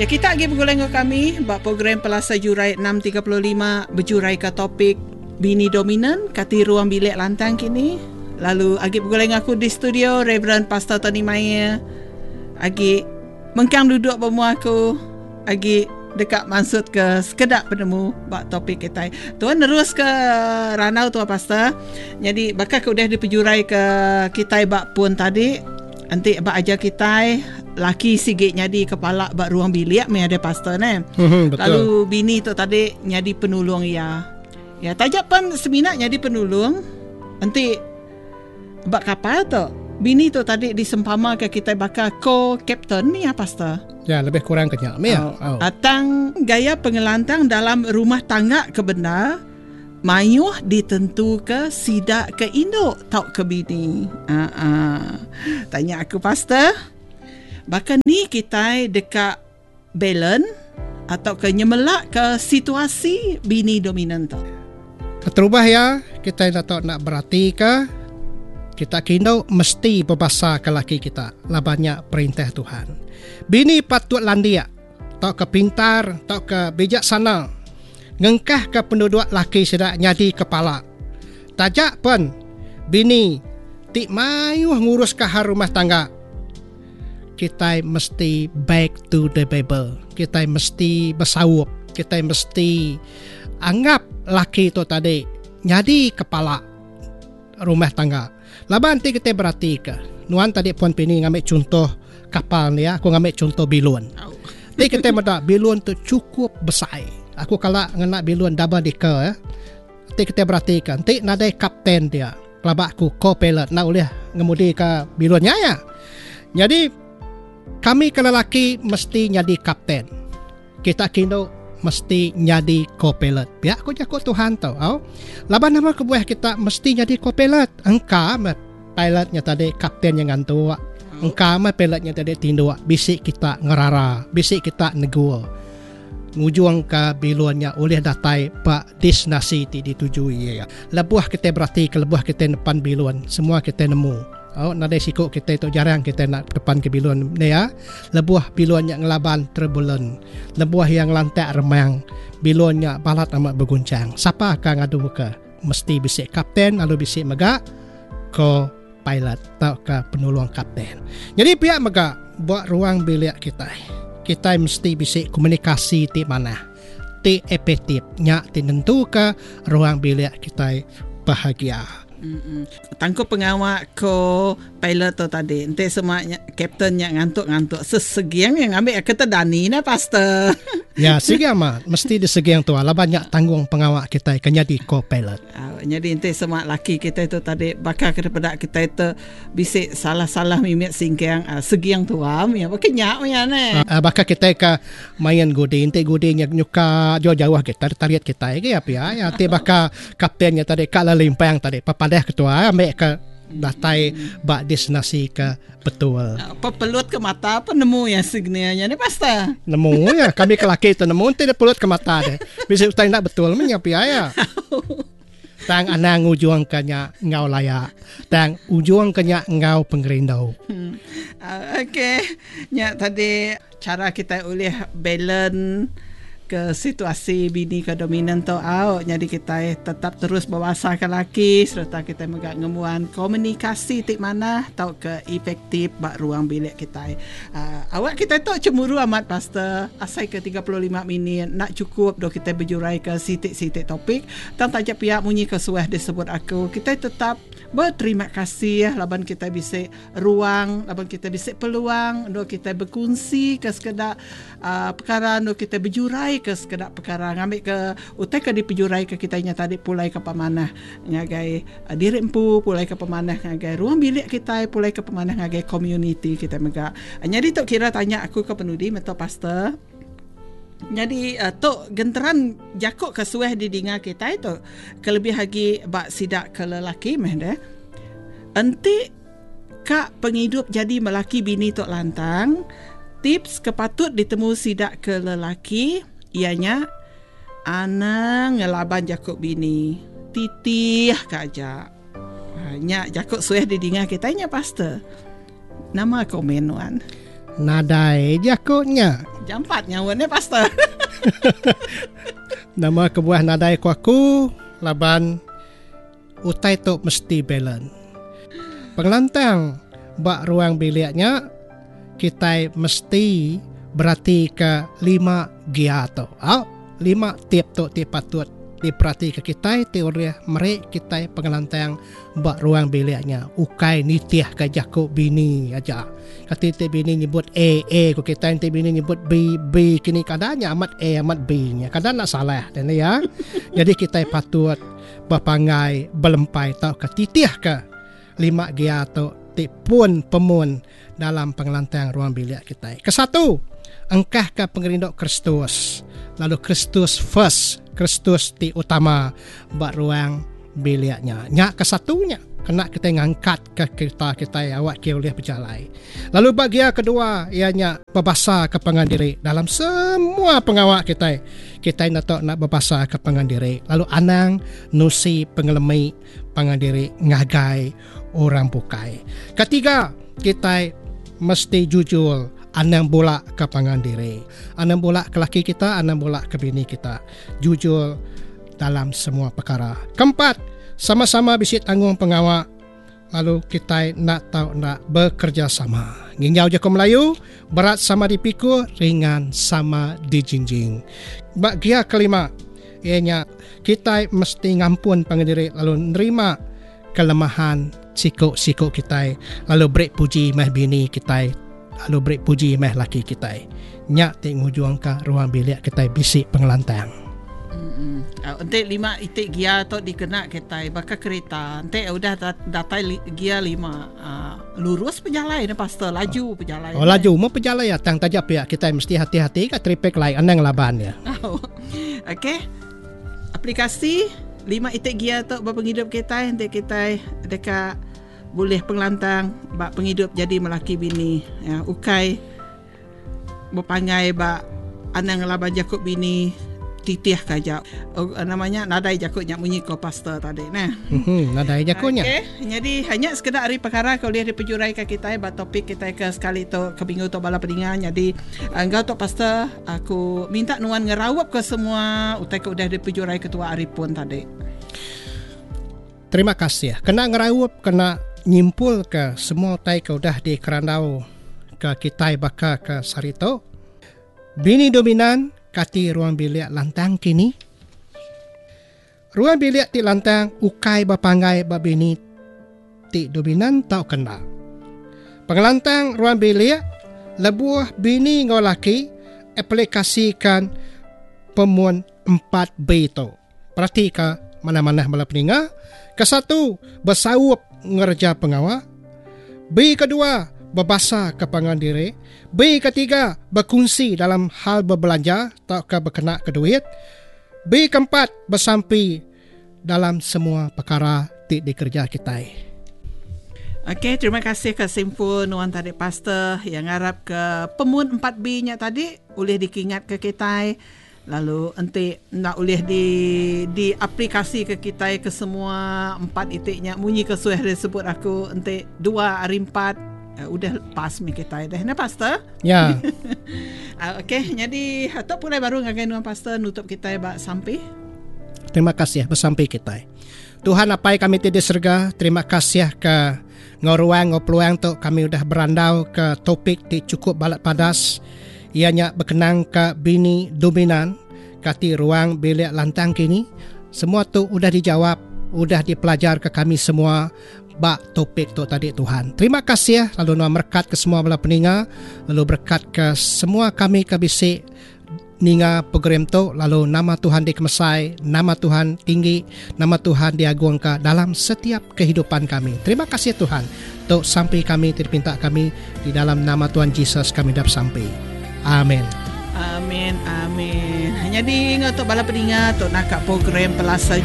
Ya kita agi begulai enggau kami ba program Pelasar Jurai 6.35 bejurai ke topik Bini Dominan Kati Ruang Bilik Lantang Kini. Lalu agi begulai enggau aku di studio Reverend Pastor Tony Maie. Agi mengkang duduk ba mua aku agi deka mansut ke sekeda penemu ba topik kitai. Tuan nerus ke randau tua pastor. Jadi baka ke udah dipejurai ke kitai ba pun tadi enti ba ajar kitai laki sigi nyadi kepala ba ruang bilik meh ada pastor ne. Hmm, betul. Lalu bini tu tadi nyadi penolong iya. Ya taja pen semina nyadi penolong enti ba kapal tu bini tu tadi disempama ke kitai baka co-captain ni ya pastor. Ya lebih kurang ke nya meh. Oh. Oh. Atang gaya pengelantang dalam rumah tangga ke bendar mayuh ditentuka sida ke indu tauka bini. Ha ah. Tanya aku pastor, baka ni kitai deka balance atau ke nyemelak ke situasi bini dominan tu? Keterubah iya, kitai enda tau enda beratika kita ke indu mesti bebasa ke laki kita laban nya perintah Tuhan. Bini patut landik tauka pintar tauka bijaksana ngengkahka penduduk laki sida nyadi kepala. Taja pen bini ti mayuh nguruska hal rumah tangga, kitai mesti back to the Bible. Kitai mesti besaup, kitai mesti anggap laki tu tadi nyadi kepala rumah tangga. Laban ti kitai beratika, nuan tadi Puan Pini ngambi chunto kapal ni, aku ngambi chunto bilun. Ti kitai meda bilun tu chukup besai. Aku kala ngena bilun double decker ya. Ti kitai beratika enti nadai kapten dia, pelaba aku co-pilot enda ulih ngemudika bilun nya ya. Nyadi kami ke lelaki mesti nyadi kapten. Kita ke indu mesti nyadi co-pilot. Pia ku jaku Tuhan tu. Au. Laban nama kebuah kita mesti nyadi co-pilot? Engka meh pilot nya tadi kapten nya ngantuk. Engka meh pilot nya tadi tinduk. Bisi kita ngerara, bisi kita negur. Ngujungka bilun nya ulih datai ba destinasi ti dituju iya. Lebuh kitai beratika lebuh kitai nepan bilun, semua kitai nemu. Au nadai siku kitai tu jarang kitai enda tepanka bilun ne iya. Lebuh bilun nya ngelaban turbulen, lebuh iya ngelantak remang, bilun nya balat amat begunchang. Sapa ka ngaduka? Mesti bisi kapten lalu bisi mega co-pilot tauka penulung kapten. Nyadi pia mega ba ruang bilik kitai. Kitai mesti bisi komunikasi ti manah, ti efektif nya ti nentuka ruang bilik kitai bahagia. Tangkup pengawa ko pilot tu tadi enti sema nya captain nya ngantuk-ngantuk seseging iya ngambi ke tedani neh pastor. Ya sigi amat mesti diseging tua laban nya tanggung pengawa kitai ke nyadi ko pilot. Au nyadi enti sema laki kitai tu tadi baka ke dipeda kitai tu bisi salah-salah mimit singkang seging tua mih baka nya mih neh. Baka kitai ke Main gudi enti gudi nya nyuka jauh-jauh agi tadi tarit kitai agi pia ya ti baka kapten nya tadi ka lalu limpang tadi pepadah ketua ambi ke datai ba destinasi ke betul. Pepelut ke mata pun nemu ya signal nya ni pastor. Nemu ya kami ke laki tu nemu enti dia pelut ke mata deh. Bisi utai enda betul meh nya pia ya. Tang anang ngujungka nya enggau laya. Tang ujungka nya enggau pengerindu. Hmm. Okey, nya tadi chara kitai ulih balance ke situasi bini ke dominan tu au nyadi kitai tetap terus bebasa ke laki sereta kitai mega ngembuan komunikasi ti manah tauka efektif ba ruang bilik kitai. Awak kitai tu chemuru amat pastor asai ke 35 minit enda chukup dok kitai bejurai ke siti-siti topik tang taja pia munyi ke suah disebut aku kitai tetap beterima kasih laban kitai bisi ruang laban kitai bisi peluang endur kitai bekunsi ke sekeda uhh pekara endur kitai bejurai ke sekeda pekara ngambi ke utai ke dipejurai ke kitai nya tadi pulai ke pemanah ngagai diri empu pulai ke pemanah ngagai ruang bilik kitai pulai ke pemanah ngagai komuniti kitai mega. Nyadi tu kira tanya aku ke penudi meto pastor. Nyadi tu genteran jaku ke suah didinga kitai tu kelebih agi ba sida ke lelaki meh deh. Enti ka pengidup jadi melaki bini tu lantang, tips ke patut ditemu sida ke lelaki iya nya Anang ngelaban jaku bini. Titih ka aja. Nya jaku suah didinga kitai nya pastor. Nama komen nuan? Nadai jaku nya. Jampat nyawa ne pastor. Nama kebuah nadai ku aku laban utai tu mesti balance. Pengelantang ba ruang bilik nya kitai mesti beratika lima gear tu. Au, lima tip tu ti patut diperatika kitai ti ulih meri kitai pengelantang ba ruang bilik nya ukai nitihka jaku bini aja. Kati ti bini nyebut A, A ku kitai enti bini nyebut B, B kini kada nya amat A amat B nya. Kada enda salah deh ne ya. Jadi kitai patut bepanggai belempai tauka titihka lima gear tu ti pun pemun dalam pengelantang ruang bilik kitai. Kesatu, engkahka pengerindu Kristus lalu Kristus first, Kristus ti utama ba ruang bilik nya. Nya kesatu nya kena kitai ngangkatka kerita kitai awak ke ulih bejalai. Lalu ba gear kedua iya nya bebasa ke pangan diri dalam semua pengawa kitai. Kitai enda tau enda bebasa ke pangan diri lalu anang nusi pengelemi pangan diri ngagai orang bukai. Ketiga, kitai mesti jujur anang bula ke pangan diri. Anang bula ke laki kita, anang bula ke bini kita. Jujur dalam semua perkara. Keempat, sama-sama bisi tanggung pengawa lalu kitai enda tau enda bekerjasama. Nginjau jaku Melayu, berat sama dipikul, ringan sama dijinjing. Ba gia kelima, iya nya kitai mesti ngampun pangan diri lalu nerima kelemahan siku-siku kitai lalu beri puji meh bini kitai lalu beri puji meh laki kitai. Nya ti ngujungka ruang bilik kitai bisi pengelantang. Enti lima iti gear tu dikena kitai baka kerita enti udah datai gear lima lurus pejalai ne pastor laju pejalai. Oh laju meh pejalai iya tang taja pia kitai mesti hati-hati ka traffic light anang ngelaban iya. Okey. Aplikasi lima iti gear tu ba pengidup kitai enti kitai deka bulih pengelantang ba pengidup jadi melaki bini ya ukai bepanggai ba anang ngelaban jaku bini titih ka aja nama nya nadai jaku nya munyi ko pastor tadi neh. Mhm nadai jaku nya. Okey nyadi nya sekeda ari pekara ke ulih dipejurai ka kitai ba topik kitai ke sekali tu ke minggu tu bala peninga nyadi enggau tu pastor aku minta nuan ngeraup ke semua utai ke udah dipejurai ketua ari pun tadi. Terima kasih. Kena ngeraup kena nyimpul ke semua utai ke udah dikerandau ke kitai baka ke sehari tu. Bini dominan kati ruang bilik lantang kini? Ruang bilik ti lantang ukai bepanggai ba bini ti dominan tauka enda. Pengelantang ruang bilik lebuh bini enggau laki aplikasikan pemun 4B tu. Peratika manah-manah bala peninga. Kesatu, besaup ngereja pengawa. B kedua, bebasa ke pangan diri. B ketiga, bekunsi dalam hal bebelanja tauka bekena ke duit. B keempat, besampi dalam semua pekara ti dikereja kitai. Okey, terima kasih ke simpul nuan tadi pastor yang ngarap ke pemun 4B nya tadi ulih dikingat ke kitai. Lalu enti enda ulih di diaplikasika kitai ke semua empat iti nya munyi ke suah disebut aku enti dua ari empat udah pas mih kitai deh nah pastor. Ya. Okey nyadi tu pulai baru ngagai nuan pastor nutup kitai ba sampi. Terima kasih besampi kitai. Tuhan Apai kami ti di serega, terima kasih ke enggau ruang enggau peluang tu kami udah berandau ke topik ti chukup balat padas iya nya bekenang ke bini dominan kati ruang bilik lantang kini. Semua tu udah dijawab, udah dipelajar ke kami semua ba topik tu tadi Tuhan. Terima kasih lalu nuan merekat ke semua bala peninga lalu berekat ke semua kami ke bisi Ninga program tu lalu nama Tuhan dikemesai, nama Tuhan tinggi, nama Tuhan diagungka dalam setiap kehidupan kami. Terima kasih Tuhan. Tu sampi kami ti dipinta kami di dalam nama Tuhan Jesus kami dah besampi. Amin. Amin amin. Nyadi enggau tu bala peninga tu naka program Pelasar.